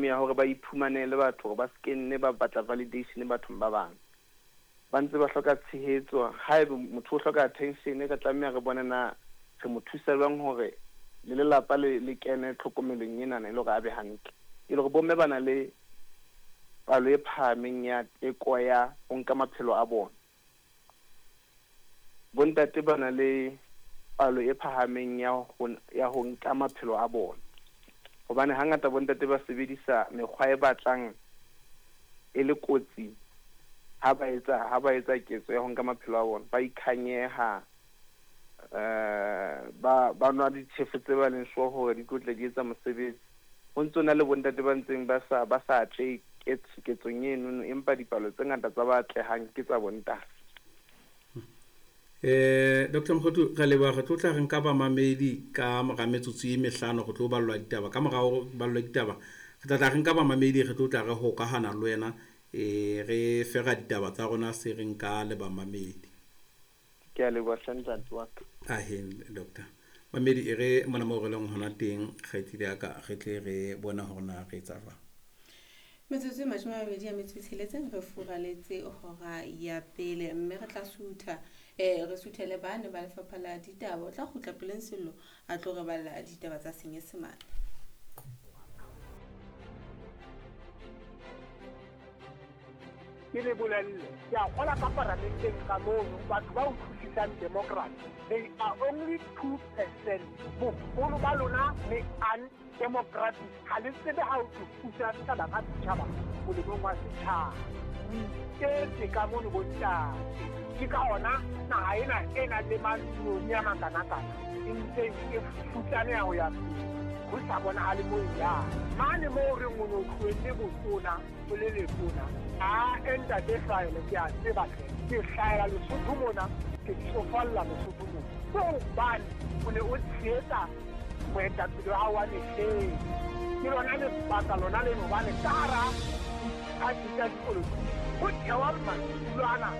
Modimo ya hore ba iphumanele batho hore ba se nne ba batla validation bathong ba bang. Ba ntse ba hloka tshehetso. Haeba motho o hloka attention, re tlameha re bone na re mo thusa jwang hore le lelapa le kene tlhokomelong enana e le hore a be hantle. E le hore bomme ba na le palo e phahameng ya teko ya ho nka maphelo a bona. Bontate ba na le palo e phahameng ya ho nka maphelo a bona. Hobane hangata bontate ba sebedisa mekgwa e batlang e le kotsi ha ba etsa ketso ya ho nka maphelo a bona. Ba ikhanyeha, ba nwa ditjhefo tse ba leng sure hore di tlo tla di etsa mosebetsi. Ho ntso na le bontate ba ntseng ba sa atlehe ketsong enono, empa dipalo tse ngata tsa ba atlehang ke tsa bontate. Dr. Mokgothu, re leboha. Re tlo tla re nka bamamedi ka mora metsotso e 5, re tlo ballwa ditaba. Ka mora ho ballwa ditaba, re tla tla re nka bamamedi, re tlo tla re hokahana le wena, re fera ditaba tsa rona se re nka le bamamedi. Ke a leboha hle, ntate wa ka. Ahe, doctor. Mamedi, e re mona moo re leng hona teng, kgaitsedi ya ka, re tle re bona hore na re etsa jwang. Metsotso e 26 re furaletse hora ya pele, mme re tla sutha, re suthele bane ba lefapha la ditaba. O tla kgutla peleng Sello a tlo re balla ditaba tsa Senyesemane. Ke le bolelle, ke a kgola ka paramenteng ka mono batho ba utlwisisang democracy, they are only 2%. Boholo ba lona le undemocratic, ha le tsebe ha o tlo pusa setjhaba ka setjhaba molemong wa setjhaba. O iketse ka mono, bontate. Ke ka ona naha ena e nang le manoni a makanakana e ntseng e futsaneha ho ya pele, ho sa bonahale mo e yang mane moo reng o no tlohelle botona o le letona. A ntate Hlwaele, ke a tseba hle, ke hlahela Lesotho mona, ke tsofalla Lesotho mona, ke hobane o ne o tshehetsa moetapele wa hao wa mehleng. Ke lona lebaka lona leno, hobane ka hara diphathi tsa dipolotiki ho thewa matulo ana.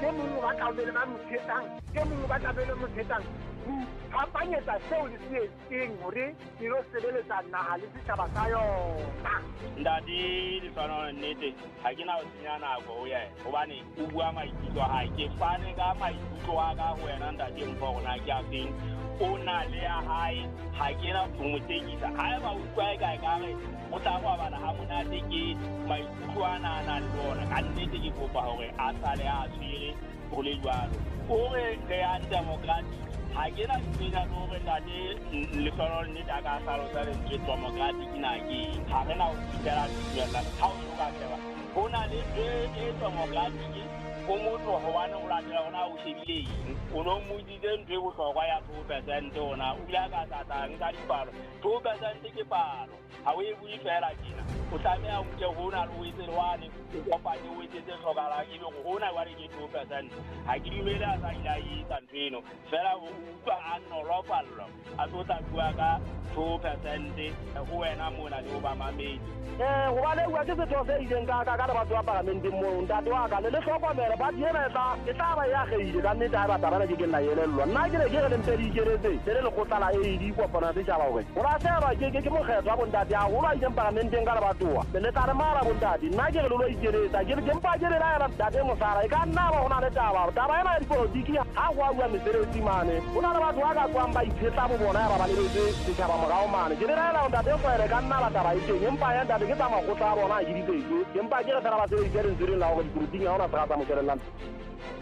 E mong o batla ho be le ba mo tshehetsang, e mong o batla be le mo tshehetsang, ho iphapanyetsa seo le se etseng hore le lo sebeletsa naha le setjhaba sa yona. Ntate Lefano, nnete ha ke na ho senya nako ho yena hobane o bua maikutlo a hae. Ke fane ka maikutlo a ka ho wena, ntate Mpho, hore na ke a feng. O na le ya hae, ha ke na ho mo tekisa. Haeba o utlwa e ka ekare o tla robala ha monate ke maikutlo ana a nang le ona, ka nnete ke kopa hore a sale a tshwere ho le jwalo. O re re undemocratic, ha ke na ntho le hore ntate Lehlohonolo nnete a ka hlalosa lentswe democratic na ke eng. Ha re na ho fihlela dumella ha o so ka sheba ho na le ntho e democratic o motho, hobane o latela hona o shebile eng. O no mmotsitse ntho e bohlokwa ya 2%, ona o ile a ka tlatla nka dipalo. 2% ke palo, ha o e bue fela tjena. O tlameha o nke hona le o etse le wane, o kopanye, o etse tse hlokahalang, ebe hore hona jwale ke 2%. Ha ke dumele a sa ile a etsa ntho eno fela, o utlwa a nolofallwa a tlo tla bua ka 2% ho wena mona le ho bamamedi. Hobane bua ke setho se ileng ka le batho ba paramenteng moo, ntate wa ka, le hlokomele party ena e tla ba e akgehile ka nnete. Ha e batla bana ke ke nna elellwa. Nna ke ne ke re le mpe le ikeletse le le lekgotla la AD kopano ya setjhaba hore ho lahlehelwa ke mokgetho wa bontate haholo a ileng paramenteng ka lebatowa le tla re mara bontate. Nna ke re le lo ikeletsa, ke mpa ke le laela, ntate Mosala, e ka nna ba ho na le taba ena ya dipolotiki. Ha go a bua mesebetsi mane, ho na le batho ba ka tswang ba itshetla bo bona ya ba ba lebetse setjhaba morao mane. Ke le laela, ntate Hlwaele, ka nna ba taba e teng, empa ya ntate ke tsa makgotla a bona, ha ke ditsetse, empa ke re fela ba sebedise lentswe leng la hore dipolotiking ha hona sera tsa moshwelellang.